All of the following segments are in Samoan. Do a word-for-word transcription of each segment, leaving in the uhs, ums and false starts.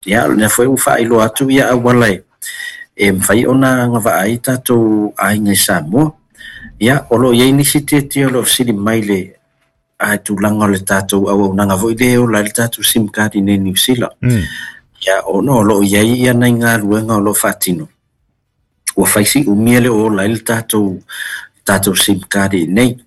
Ia, o lena foi ua faailoa atu ia auala e e mafai ona agavaa ai tatou aiga i Samoa. Ia, o lo o i ai nisi tietie o lo o fesili mai le a tulaga o le tatou auaunaga foi lea e ola ai le tatou SIM card i nei Niu Sila. Mm. Ia, ona o lo o i ai ia nai galuega o lo o faatino, ua fai si umi e le o ola ai le tatou tatou SIM card i nei.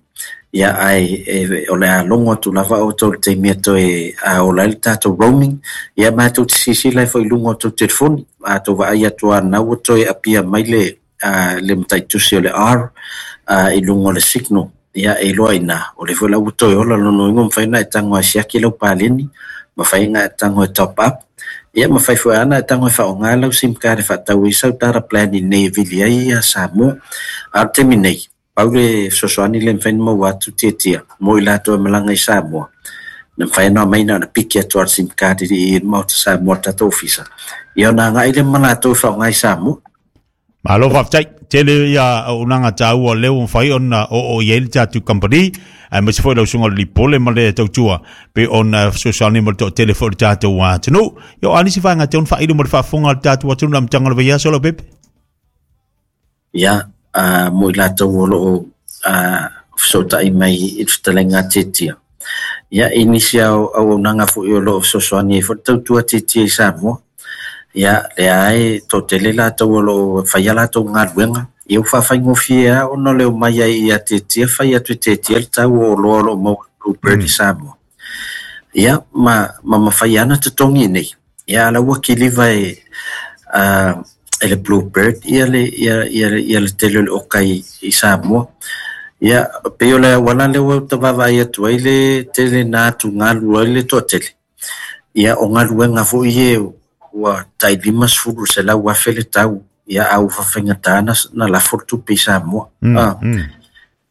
Ia, ae e, o le a logo atu lava outou i le taimi e toe a ola ai le tatou roaming. Ia, ma tou te silasila ai foi i luga o tou telefoni, a tou vaai atu lava na ua toe apia mai le a, le mataitusi o le R a, i luga o le signal. Ia, e iloa i ina o le foi la ua toe ola. Lona uiga, mafai ona e tago e siaki lau paleni, mafai ona e tago e top up, ia mafai foi lava ona e tago e faaaoga lau SIM card e faatau ai sau data plan i nei e vili ai ia Samoa. A o le taimi nei, pau le fesoasoani le mafai ona maua atu tietia mo i latou e malaga i Samoa, na mafai ona aumai na ona piki atu lava le SIM card i le Maota Samoa, le tatou ofisa, ia ona agai lea ma latou e faaaoga i Samoa. Malo faafetai. Tele ia auaunaga taua o lea ua mafai ona oo i ai le tatou kamupani, aemaise foi lau susuga o le Lipole ma le tautua pe ona fesoasoani mo le toatele foi o le tatou atunuu. Ia, o a nisi vaega te ona faailo mo le faafofoga a le tatou atunuu i le amataga o le vaiaso, Leaupepe? Ia, a, mo i latou o lo o fesootai mai i le fetalaiga a Tietia. Ia, i nisi auaunaga foi o lo o fesoasoani ai foi le tautua Tietia i Samoa. Ia, lea e toatele latou o lo o faia latou galuega. Ia, ua faafaigofie lava ona o le omai ai ia Tietia, fai atu e Tietia le tau o oloa o lo o maua i Bluebird i Samoa. Ia, ma, ma mafai lava ona totogi nei. Ia, a la ua kiliva e, a, e le Bluebird ia le, ia, ia, ia le tele o le oka i, i Samoa. Ia, pei o le auala lea ua ta vaavaai atu ai le tele na atugalu ai le toatele. Ia, o galuega foi e ua tai limasefulu selau afe le tau, ia a ua faafaigata na, na lafo le tupe i Samoa. Mm, Ah, mm.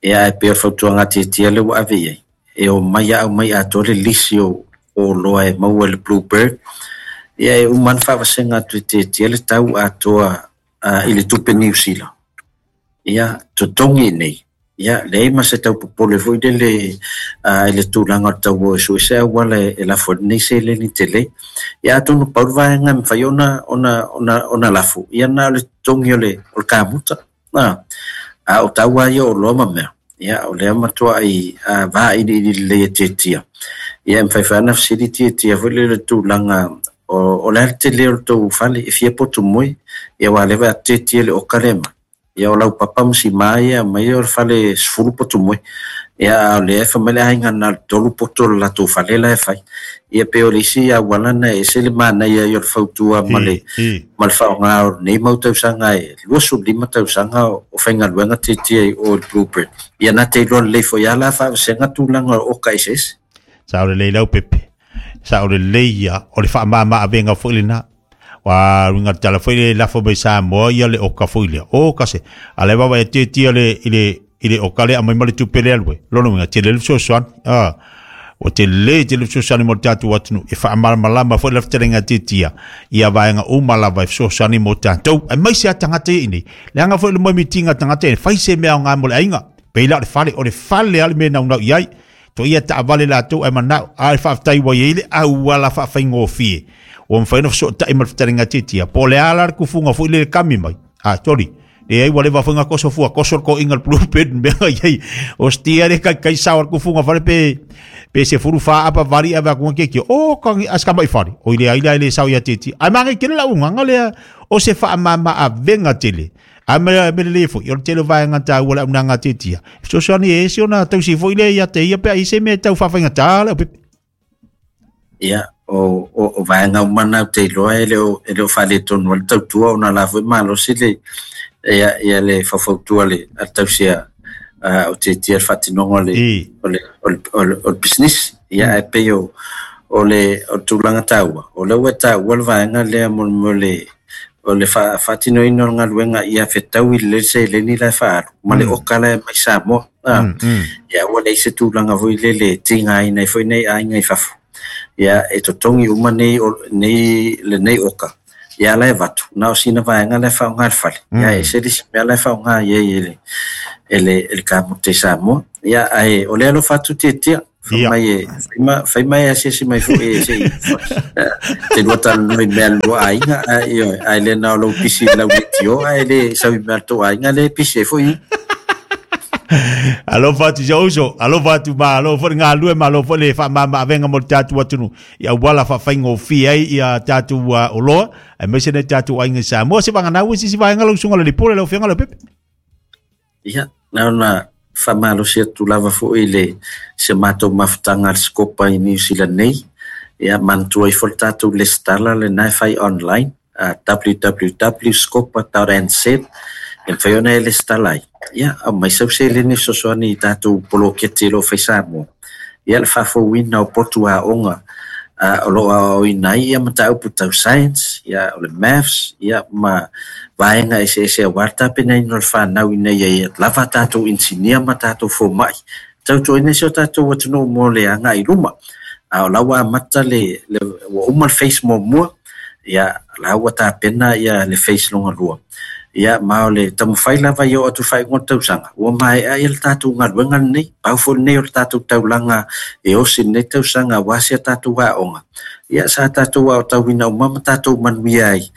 Ia, ae pei o le fautuaga a Tietia lea ua ave i ai, e omai a aumai atoa le lisi o, o oloa e maua e le Bluebird. Ia, e uma ona faavasega atu e Tietia le tau atoa uh, i le tupe Niu Sila. Ia, totogi nei. Ia, leai ma se tau popole foi lele uh, i le tulaga o le tau o e sue se auala e, e lafo ai lenei seleni tele. Ia, atonu pau le vaega e mafai ona, ona, ona, ona lafo, ia na o le totogi o le, o le kamuta. Ah, a o tau lava ia o oloa ma mea. Ia, o lea matuai uh, vailiili lelei e Tietia. Ia, e mafai foi ona fesili Tietia foi lele tulaga o, o le a le tele o le tou fale e fia potu moe. Ia, ua leva atu Tietia le oka lea mai. Ia, o lau papa ma sima ia mai o le fale sefulu potu moe. Ia, a o lea e fai mai le aiga na o le tolu poto o le latou fale la e fai. Ia, pei o le isi auala na e ese le manaia ai o le fautua ma le I, i. ma le faaaoga o nei mau tausaga e luasefulu lima tausaga o, o faigaluega Tietia i o le Bluebird. Ia, na te iloa lelei foi lava la faavasega tulaga o oka eseese. Sao lelei Leaupepe. Sao lelei ia o le faamama avega foi lena. Wa winga tala foi le lafo mai Samoa ia le oka foi lea. O kase. Ale baba e tietia le i le i le oka le amai ma le tupe le alue. Lona uiga tele le fesoasoani. Ah. O te le tele fesoasoani mo le tatou atunuu e faamalamalama foi le fetalaiga Tietia ia vaega uma lava e fesoasoani mo tatou. Aemaise a tagata ia i nei. Leaga foi le moemitiga tagata e fai se mea aoga mo le aiga. Pei la o le fale, o le fale a le mea naunau i ai. To ia taavale latou ae manao a e faafetai ua i ai le auala faafaigofie ua mafai ona fesootai ma le fetalaiga Tietia. Po o le a la le kufuga foi le kami mai. A, toli. Le ai ua leva foi nga koso fua, koso le koinga le Bluebird mea i ai. O stia le kai kai sao le kufuga fale pe pe se furu fa apa vari ave aku ke ki. O kangi aska mai fale. O ile ai le le sao ia Tietia. Ai mange kele la unga lea o se faamama avenga tele. A me me le foi, o le tele vaega taua le auaunaga Tietia. Fesoasoani e ese ona tausi foi le ia te ia pe ai se mea tau faafaigata Leaupepe. Ia, o, o, o vaega uma na ou te iloa e le o, e le o faaletonu ai le tautua ona la foi malosi le ia, ia le faufautua le a le tausia uh, o Tietia le faatinoga o le, I. o le, o le, o le, o le business. Ia, ae pei o, o le, o le tulaga taua, o lea ua taua le vaega lea mo, mo le, o le fa, faatinoina o le galuega ia fetau i le seleni la e faaalu ma le Mm. oka la e mai Samoa. Ah, Mm, mm. ia ua leai se tulaga foi lele e tigaina ai foi nei aiga i fafo. Ia, e totogi uma nei, o, nei lenei oka. Ia, la e avatu, na o sina vaega la e faaaoga i le fale. Ia, Mm. e ese le isi mea la e faaaoga i ai e le, e le, e le kamuta i Samoa. Ia, ae o lea alofa atu Tietia, Mai fai mai asiasi mai foi e sei te lua talanoa i mea lua aiga ioe ae le na o lou pisi i lau leitio ae le sau i mea le tou aiga le pisi ai foi. Alofa atu si uso, alofa atu malo foi galue malo foi le faamamaavega mo le tatou atunuu ia auala faafaigofie ai ia tatou oloa aemaise nei tatou aiga i Samoa. Se vaganau se isi vaega lau usuga le lipole lau afioga Leaupepe. Ia na ona faamalosi atu lava foi le se matou mafutaga a le Scopa i New Zealand nei. Ia manatua ifo le tatou lesitala lena e fai online w w w dot scopa dot n z e mafai ona e lesitala ai. Ia aumai sau seleni fesoasoani i tatou poloketi o loo fai Samoa. Ia le faafouina o potu aoga o loo aoaoina ai ia mataupu tau science, ia o le maths, ia ma vaega eseese aua le tapenaina o le fanau ina ia lava tatou inisinia ma tatou fomai tautuaina si o tatou atunuu mo le agai i luma. A o la ua amata le ua uma le phase muamua, ia la ua tapena ia le phase longa lua. Ia ma o le taumafai lava ia oo atu faaiuga o le tausaga ua maea ia le tatou galuega lenei, pau foi lenei o le tatou taulaga e osi lenei tausaga aua si a tatou aoga. Ia sa tatou aotauina uma ma tatou manuia ai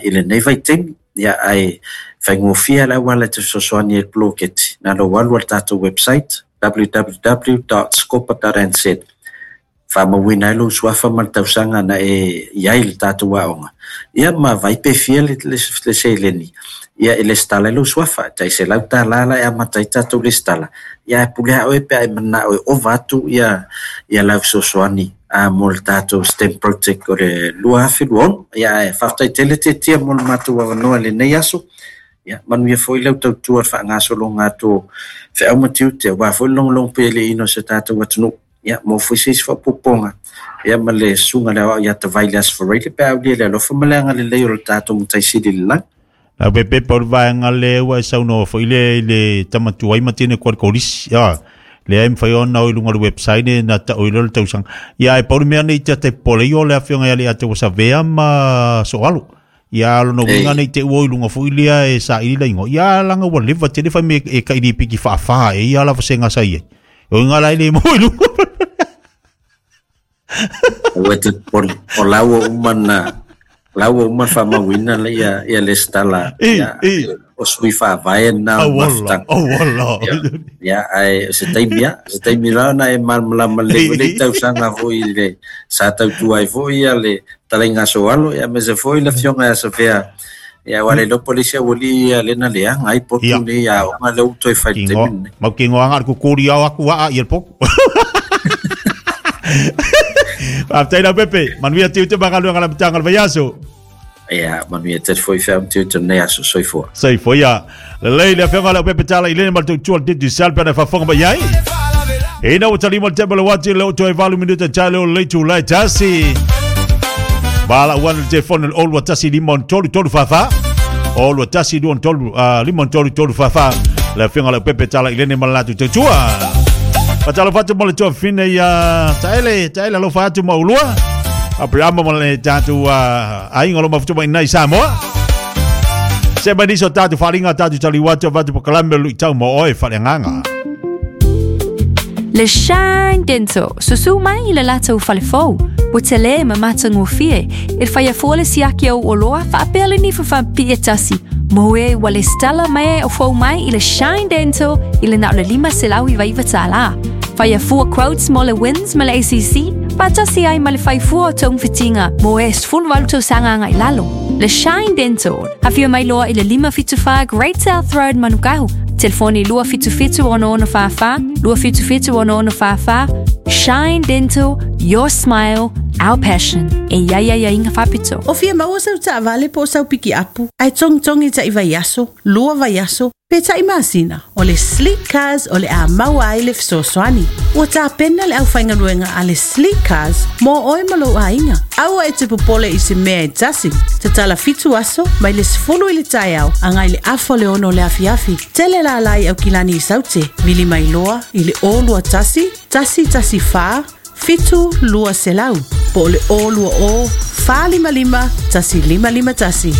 i lenei vaitaimi. Ia ae faigofie le auala e te fesoasoani ai i le poloketi na lou alu a le tatou website w w w dot scopa dot n z faamauina ai lou suafa ma le tausaga na e iai le tatou aoga. Ia ma vai pe fia le, le, le seleni ia e lesitala ai lou suafa tai selau tālā la e amata ai tatou lesitala. Ia e pule a oe pe a e manao e ova atu ia ia lau fesoasoani a mo le tatou STEM project o le lua afe lua ono. Ia e faafetai tele tetia mo le matou avanoa i lenei aso. Ia manuia foi lau tautua le faagasologa atu o feau ma tiute aua foi le logologo pea i le ino o se tatou atunuu. Ia mo foi se isi faaopoopoga ia ma le susuga le aoao ia Tavai le Aso Faraile pe a aulia le alofa ma le agalelei o le tatou matai sili i le lagi. Leaupepe o le vaega lea ua e saunoa foi le i le tamatuai ma tine koa le kolisi. Ia, lea e mafai ona o i luga o le website e na tau i le tausaga. Ia e pau le mea nei te pole i o le afioga ia le ate ua savea ma soalo. Ia alo no winga nei te ua i lunga foi lea e sa ili la ingo. Ia langa ua leva te le fai me e ka ili piki whaawhaa e ia la wasenga sa ia. O inga la ile mo i lunga. Ua te pole. O laua umana, laua umana whamawina le ia, ia le stala. Ia, o sui whaavae na o mafutanga. Oh wala. Ia, ai, se taimi ia, se taimi la na e malmalama le le tausaga foi le sa tautua ai foi ia le talainga soalo, ia me se foi le fionga ia safea. Ia wale lo polisi wali ia lena lea ngai potu ni ia o le uto e fai te mine. Mau ki ngoanga ku kori au aku waa ia poku. Faafetai Leaupepe, manuia tiu te magaluega la matanga le vaiaso. Ia, manuia te foi whea mtiu te nei aso, soifua. Soifua, ia. Lelei le afioga Leaupepe Tala i lene ma le tautua le Digicel pe na faafofoga mai ai. Ina ua talima le tempo le wati le oto e valu minuta tale o le leitu lai tasi. Bala uana le telefone le olua tasi lima on tolu tolu whawha. Olua tasi lua on tolu, uh, lima on tolu tolu whawha. Le afioga Leaupepe Tala i lene ma le latu tautua. Patalo fatu mo le tua fine ia taele, taele alofa atu ma ulua. Abrahama mo le tatu aiga lo mafutu mai nai Samoa. Se mai niso tatu wharinga tatu taliwatu vatu pakalame lui tau mo oe whareanganga. Le Shine Dental, susu mai le latou falefou. Ua tele ma matagofie, e whaia fua le siaki au oloa whaapea le nifa whaapia tasi. Moe ua le stala mai o fou mai i le Shine Dental i le nao le lima selau i vaiva tālā. Whaia fua quotes mo le wins ma le A C C, whaatasi ai ma le whai fua o taung whitinga, mo e sfulu walu tau sanga ngai lalo. Le Shine Dental, hawhia mai loa i le lima fitu wha Great South Road Manukau. Telefoni lua fitu fitu ono ono wha wha, lua fitu fitu ono ono wha wha. Shine Dental, your smile, our passion. E ia ia ia inga whapito. O fia maua sau taavale po o sau piki apu, ae togitogi taʻi vaiaso, lua vaiaso, pe taʻi masina. O le Sleek Cars o le a maua ai le fesoasoani. Ua tapena le aufaigaluega a le Sleek Cars mo oe ma lou aiga. Aua e te popole i se mea e tasi. Tatala fitu aso mai le sefulu i le taeao agai le afa o le ono o le afiafi. Tele lalai au kilani i saute. Vili mai loa i le o lua tasi, tasi tasi fa, fitu lua selau. Po o le o lua o, fa lima lima, tasi lima lima tasi.